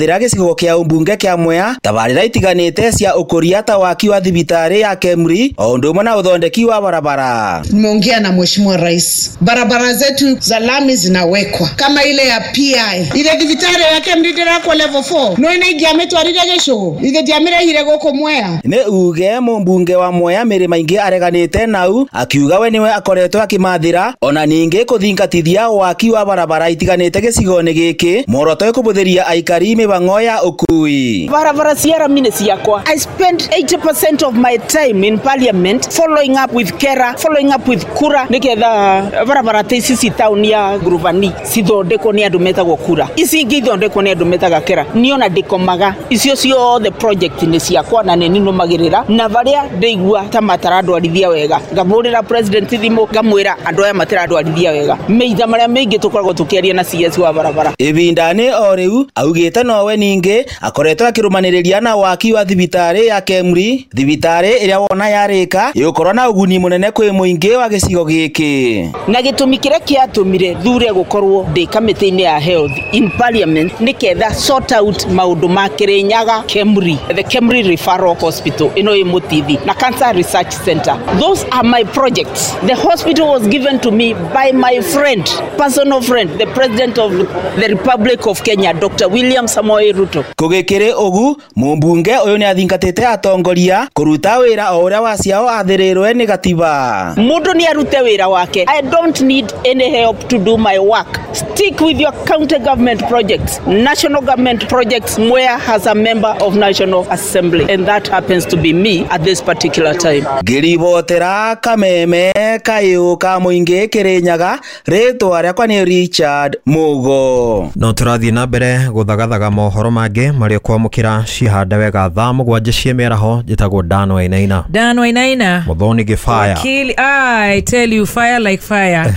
Thira gĩcigo kĩa ũmbunge kĩa Mwea tabarĩra itiganĩte cia ũkũria ta waki wa thibitarĩ ya Kemri o ũndũ ũmwe na ũthondeki wa barabara. Nimeongea na Mheshimiwa Rais, barabara zetu za lami zinawekwa kama ile ya PI ile thibitarĩ ya Kemri ndĩrakwo level 4 no ina ingĩamĩtwarire gĩcũgũ ithe ndiamĩrehire gũkũ Mwea. Nĩ uge mũmbunge wa Mwea Mĩrĩ Maingĩ areganĩte nau akiuga we niwe akoretwo akĩmathĩra ona ningĩ kũthingatithia waki wa barabara itiganĩte gĩcigo-inĩ gĩkĩ muoroto kũbũthĩria aikari mĩhang'o ya ũkui. Barabara cia rami nĩ ciakwa. I spend 80% of my time in parliament following up with KERA, following up with KURA nĩgetha barabara ta ici ci taũni ya Ngurubani cithondekwo nĩ andũ metagwo KURA, ici ingĩ ithondekwo nĩ andũ metaga KERA. Niĩ ona ndĩkomaga, icio ciothe project nĩ ciakwa na nĩ ninũmagĩrĩra, na barĩa ndĩigua ta matarandwarithia wega ngamũrĩra president thimũ ngamwĩra andũ aya matirandwarithia wega. Meitha marĩa maingĩ tũkoragwo tũkĩaria na CS wa barabara. Ibinda-inĩ o rĩu augĩte nowe ningĩ akoretwo akĩrũmanĩrĩria na waki wa thibitarĩ ya Kemri, thibitarĩ ĩrĩa wona yarĩka ĩgũkorwo na ũguni mũnene kwĩ mũingĩ wa gĩcigo gĩkĩ. Na gĩtũmi kĩrĩa kĩatũmire thure gũkorwo ndĩ kamĩtĩ-inĩ ya health in parliament nĩ ketha sort out maũndũ ma Kirinyaga Kemri, the Kemri Referral Hospital ĩno ĩ Mũtithi na Cancer Research Center. Those are my projects. The hospital was given to me by my friend, personal friend, the President of the Republic of Kenya, Dr. William Samoei Ruto. Kũgĩkĩrĩ ũgu mũmbunge ũyũ nĩ athingatĩte atongoria kũruta wĩra o ũrĩa waciao athĩrĩrwe nĩ gatiba. Mũndũ nĩ arute wĩra wake. I don't need any help to do my work. Stick with your county government projects, national government projects. Mwea has a member of National Assembly, and that happens to be me at this particular time. Ngĩribotera kameme kayũ ka mũingĩ Kĩrĩnyaga, rĩtwa rĩakwa nĩ Richard Mugo. No tũrathiĩ na mbere gũthagathaga mohoro mangĩ marĩa kwamũkĩra cihande wega thaa 7 cia mĩaraho. Njĩtagwo Dan Wainaina. Dan Wainaina. Muthoni Gĩbaya. Wakili, I tell you, fire like fire.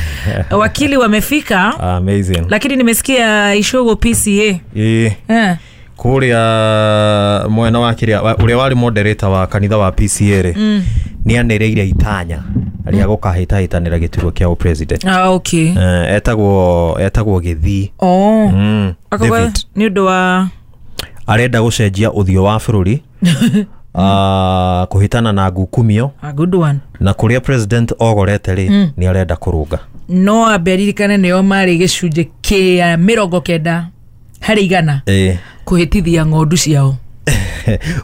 Wakili wamefika. Amazing. Lakini nimesikia Ishogo PCA. Kũrĩa mwena wa kĩrĩa ũrĩa warĩ moderator wa kanitha wa PCA rĩ, nĩ anĩrĩire itanya rĩa gũkahĩtahĩtanĩra gĩturwa kĩa president. Ah, okay. Etagwo Gĩthii. Oh. David. Nĩ ũndũ wa arenda gũcenjia ũthiũ wa bũrũri kũhĩtana na ngukumio. A good one. Na kũrĩa president ogorete rĩ, nĩ arenda kũrũnga. No amberirikane nĩo marĩ gĩcunjĩ kĩa 90 harĩ igana kũhĩtithia ng'ondu ciao.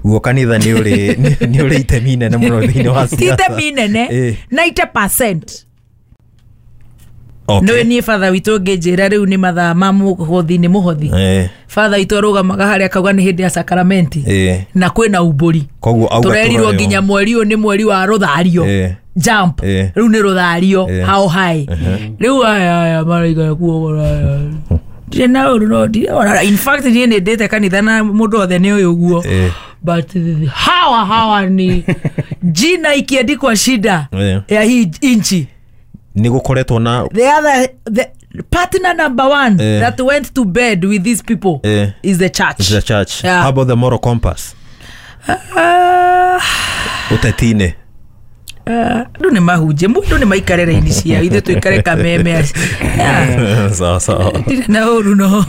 Guo kanitha nĩ ũrĩ itemi inene mũno thĩinĩ wa siasa. Itemi inene 90%. Okay. Nĩ niĩ father witũ ngĩnjĩra rĩu nĩ mathaa ma mũhothi nĩ mũhothi. Father witũ arũgamaga harĩa akauga nĩ hĩndĩ ya sakramenti na kwĩna umbũri. Koguo auga tũrerirwo nginya mweri ũyũ nĩ mweri wa rũthario. Jump. Rĩu nĩ rũthario how high. Rĩu aya maraigana kuogora. Ndirĩ na ũru no ndirĩ. In fact niĩ nĩ ndĩte kanitha na mũndũ othe nĩ ũyũ ũguo. But hawa ni jina ikiandikwa shida ya hii inchi. Nĩ gũkoretwo na the partner number one that went to bed with these people is the church. Is the church. Yeah. How about the moral compass? Ũteti-inĩ. Andũ nĩ mahunjie, mũndũ nĩ maikare raini ciao, ithuĩ tũikare kameme. Sawa sawa. Ndirĩ na ũru no.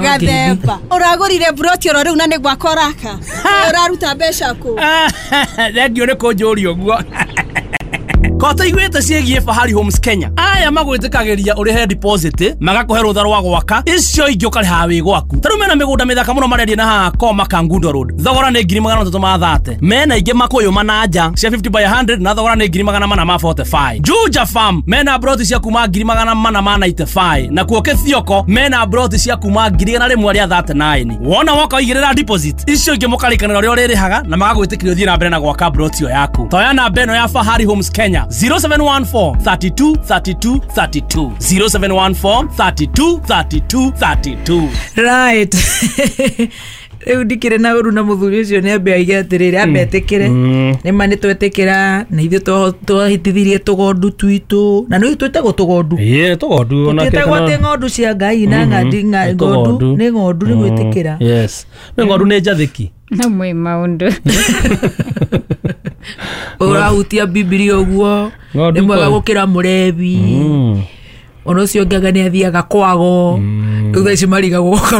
Gathemba. Ũragũrire broti oro rĩu na nĩ gwakwa ũraka. Ũraruta mbeca kũ? Thengiũ nĩ kũnjũria ũguo. Kota iguĩte ciĩgiĩ Fahari Homes Kenya. Aya magwĩtĩkagĩria ũrĩhe deposit, magakũhe rũtha rwa gwaka, icio ingĩ ũkarĩha wĩ gwaku. Ta rĩu mena mĩgũnda mĩthaka mũno marendia na haha Koma Kangundo Road. Thogora nĩ 330,000. Mena ingĩ Makũyũ Mananja cia 50 by 100 na thogora nĩ 445,000. Juja Farm mena broti cia kuma 495,000. Na kuo Kĩthioko mena broti cia kuma 139,000. Wona woka ũigĩrĩra deposit, icio ingĩ mũkarĩkanĩra ũrĩa ũrĩrĩhaga na magagwĩtĩkĩria ũthiĩ na mbere na gwaka broti ĩyo yaku. Toya namba ĩno ya Fahari Homes Kenya 0714 32 32 32 0714 32 32 32. Right. Rĩu ndikĩrĩ na ũru na mũthuri ũcio nĩ ambe aige atĩrĩrĩ, ambe etĩkĩre nĩ ma nĩ twetĩkĩra na ithuĩ twahĩtithirie tũgondu twitũ na nĩ twĩtagwo tũgondu. Ĩĩ tũgondu ona twĩtagwo atĩ ng'ondu cia Ngai na ng'andi ng'ondu nĩ ng'ondu nĩ gwĩtĩkĩra. Yes. Nĩ ng'ondu nĩ njathĩki. No mwĩ maũndũ. Ũrahutia Bibilia ũguo nĩ mwega gũkĩra mũrebi. Ona ũcio ũngĩ anga nĩ athiaga kwago. Rĩu thaa ici marigagwo.